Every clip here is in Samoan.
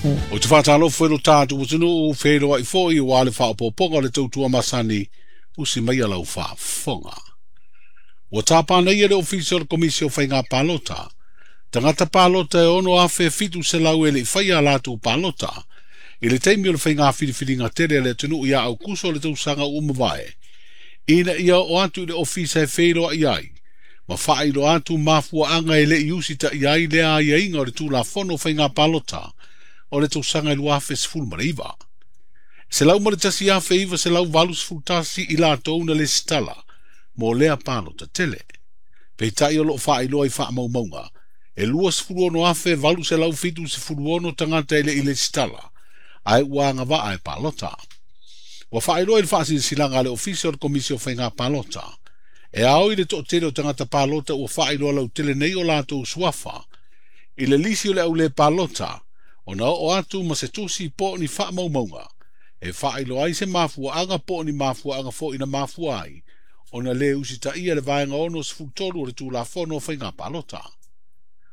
Ou te faatalofa i lo tatou atunuu, feiloai foi aua le faaopoopoga o le tautua masani, usi maia lau faafofoga. Ua tapa nei e le Ofisa o le Komisi o Faiga Palota, tagata palota e 6,700 e le i faia a latou palota, i le taimi o le faiga filifiliga tele a le atunuu ia Aukuso o le tausaga ua mavae, ina ia oo atu i le ofisa e feiloai ai, ma faailoa atu mafuaaga e le i usitaia ai lea aiaiga o le Tulafono o Faiga Palota o le tausaga 2019. 101,981 i latou na lesitala mo lea palota tele. Peitai o loo faailoa i faamaumauga, e 26,876 tagata e le i lesitala, ae ua agavaa e palota. Ua faailoa i le faasilasilaga a le Ofisa o le Komisi o Faiga Palota, e ao i le toatele o tagata palota ua faailoa lautele nei o latou suafa, i le lisi o le aulē palota, ona oo atu ma se tusi po o ni faamaumauga, e faailoa ai se mafuaaga po o ni mafuaaga foi na mafua ai, ona le usitaia le vaega 63 o le Tulafono o Faiga Palota.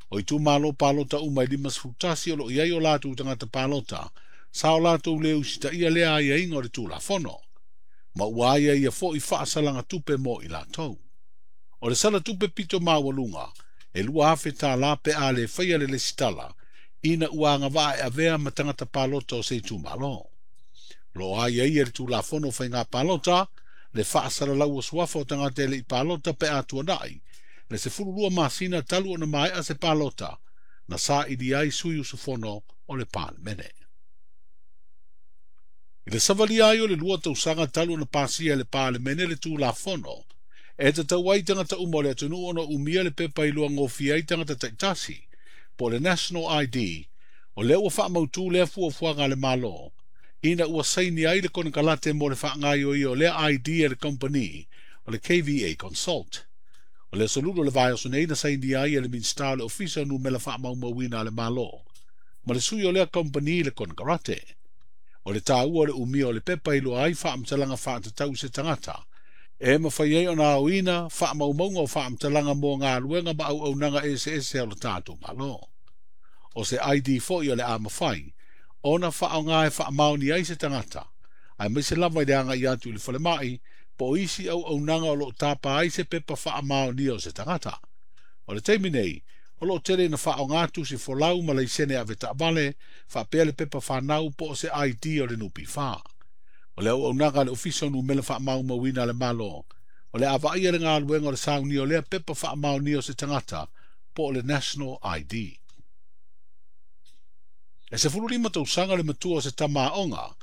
O itumalo palota uma e 51 o loo i ai o latou tagata palota, sa o latou le usitaia lea aiaiga o le Tulafono, ma ua aiaia foi faasalaga tupe mo i latou. O le sala tupe pito maualuga, e $2,000 pe a le faia le lesitala, ina ua agavaa e avea ma tagata palota o se itumalo. O loo aiaia le Tulafono o Faiga Palota, le faasalalau o suafa o tagata e le i palota pe a tuanai, le 12 masina talu ona maea se palota, na saili ai sui usufono o le Palemene. I le savalia ai o le 2 tausaga talu ona pasia e le Palemene le Tulafono, e tatau ai tagata uma o le atunuu ona umia le pepa iloa gofie ai tagata taitasi, po o le National ID, o lea ua faamautu lea fuafuaga a le Malo, ina ua saini ai le konekarate mo le faagaioia o lea ID e le company o le KVA Consult. O le aso Lulu o le vaiaso nei na sainia ai e le Minisita o le Ofisa o Numera Faamaumauina a le Malo, ma le sui o lea company le konekarate. O le taua o le umia o le pepa iloa ai faamatalaga faatatau i se tagata, e mafai ai ona aoina faamaumauga o faamatalaga mo galuega ma auaunaga eseese a lo tatou Malo. O se ID foi o le a mafai ona faaaoga e faamaoni ai se tagata, aemaise lava i le agai atu i le falemai, po o isi auaunaga o loo tapa ai se pepa faamaonia o se tagata. O le taimi nei, o loo tele ina faaaoga tusi folau ma laisene avetaavale, faapea le pepa fanau po o se ID o le NPF. O le auaunaga a le Ofisa o Numera Faamaumauina a le Malo, o le a vaaia le galuega o le saunia o lea pepa faamaonia o se tagata po o le National ID. E 15 tausaga le matua o se tama aoga